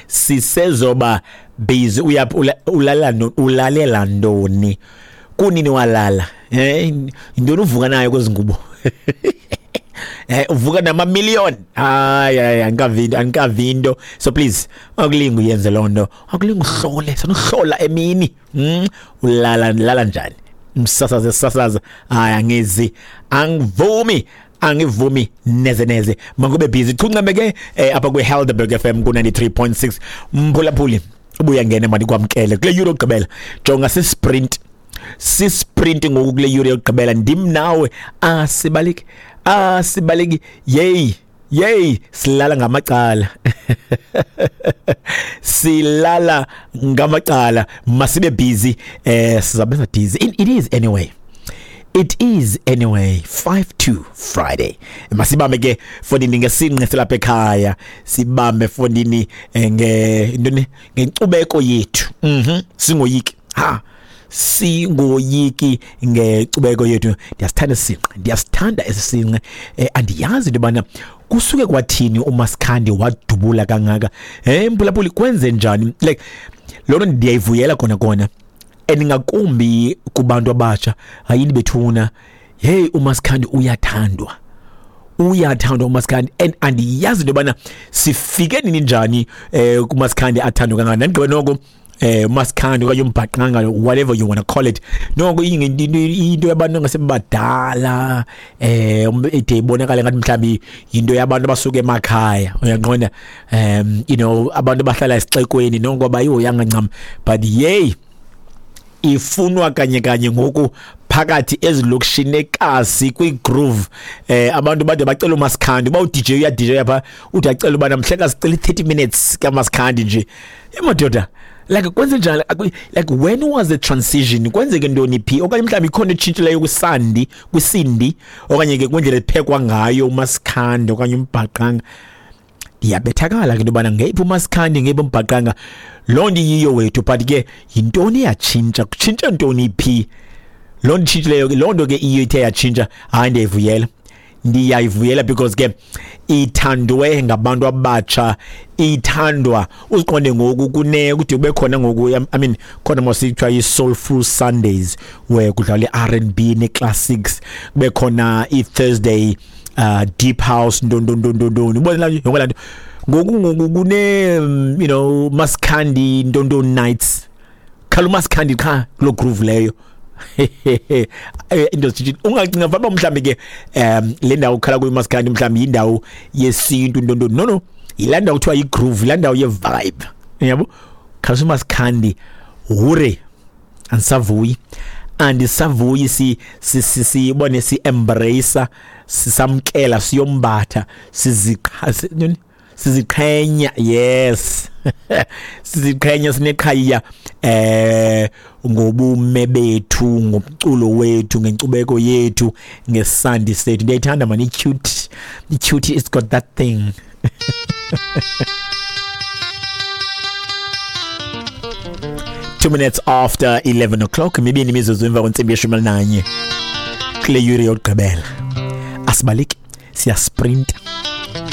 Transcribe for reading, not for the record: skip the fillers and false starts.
Sisezoba busy. Uyaphi? Ulala ulalela ntoni? Kunini walala? Yintoni uvuka nayo kwezi ngubo? Uvuka namamillion. Hayi, hayi, andikavi into, andikavi into. So please, akulingi uyenze loo nto, akulingi uhlole, sanuhlola emini. Ulala, lala njani? Msasaze, sasaza. Hayi, angizi, angivumi, angivumi neze neze. Makube busy chuncame ke apha kwi-Helderberg FM ku-93.6. Mphulaphuli, ubuya ngene, mandikwamkele kule yure yokugqibela. Jonga, sisprint, sisprint ngoku kule yure yokugqibela. Ndim nawe, asibaleki, asibaleki. Yeyi, yeyi, silala ngamacala, silala ngamacala. Masibe busy, sizabenza busy. It is anyway, it is anyway 5-2 Friday. Masibambe ke fondini ngesinqe silapha ekhaya, sibambe fondini nge ntoni, ngenkcubeko yethu. Singoyiki, ha, singoyiki ngenkcubeko yethu. Ndiyasithanda isinqe, ndiyasithanda esi sinqe. Andiyazi into yobana kusuke kwathini uMasikhandi wadubula kangaka. Mphulaphuli, kwenze njani? Like, loo nto ndiyayivuyela kona kona, and ngakumbi kubantu abatsha. Hayini bethuna, hey, uMasikhandi uyathandwa, uyathandwa uMasikhandi. And andiyazi into yobana sifike nini, njani kuMasikhandi athandwa kangaka. Ndandigqibe noko uMasikhandi okanye umbhaqanga, whatever you want to call it, noko into yabantu ngasebadala, ide ibonakale ngathi mhlawumbi yinto yabantu abasuka emakhaya, uyaqonda, abantu abahlala esixekweni noko abayihoyanga ncam. But yey, ifunwa kanye kanye ngoku phakathi ezilokishini ekasi kwi-groove. Abantu bade bacela uMasikhandi uba uDJ uya DJ apha, ude acela uba namhlekazi sicela i-30 minutes kaMasikhandi nje. Emadoda, like, kwenze njani? Like, when was the transition? Kwenzeke ntoni phi? Okanye mhlawumbi ikhona etshintshileyo kwisandi, kwisindi, okanye ke kwindlela ephekwa ngayo uMasikhandi okanye umbhaqanga? Ndiyabethakala ke into yobana ngeyiphi uMasikhandi, ngeyiphi umbhaqanga. Loo nto iyiyo wethu, but ke yintoni eyatshintsha? Kutshintshe ntoni phi? Loo nto itshintshileyo ke, loo nto ke iyo ithe yatshintsha. Hayi, ndiyayivuyela, ndiyayivuyela, because ke ithandwe ngabantu abatsha, ithandwa. Uziqonde ngoku kune kude kube khona ngoku, I mean, khona mosithiwa i-Soulful Sundays where kudlalwa i-R&B ne-classics, kube khona i-Thursday deep house, ntontontontontoni, ubona yonke laa nto. Ngoku kune Maskandi ntonton nights, khala uMasikhandi qha kuloo groove leyo. Into zitshintshile. Ungacinga fanuba mhlawumbi ke le ndawo ukhala kuyo uMasikhandi mhlawumbi yindawo yesintu, ntontoni. No, no, yilaa ndawo kuthiwa yigroove, yilaa ndawo ye-vibe, yabo, khalisa uMasikhandi. Hure, andisavuyi, andisavuyi. Si si si sibone, si embrace, sisamkela, siyombatha, siziqha, ntoni? Siziqhenya, yes, siziqhenya, sineqhayiya ngobume bethu, ngomculo wethu, ngenkcubeko yethu, ngesandi sethu. Ndiyayithanda man, i-cute, i-cute, it's got that thing. 2 minutes after 11 o'clock, mibini imizuzu emva kwentsimbi yeshumi elinanye, kule yure yokugqibela. Asibaleki, siyasprinta.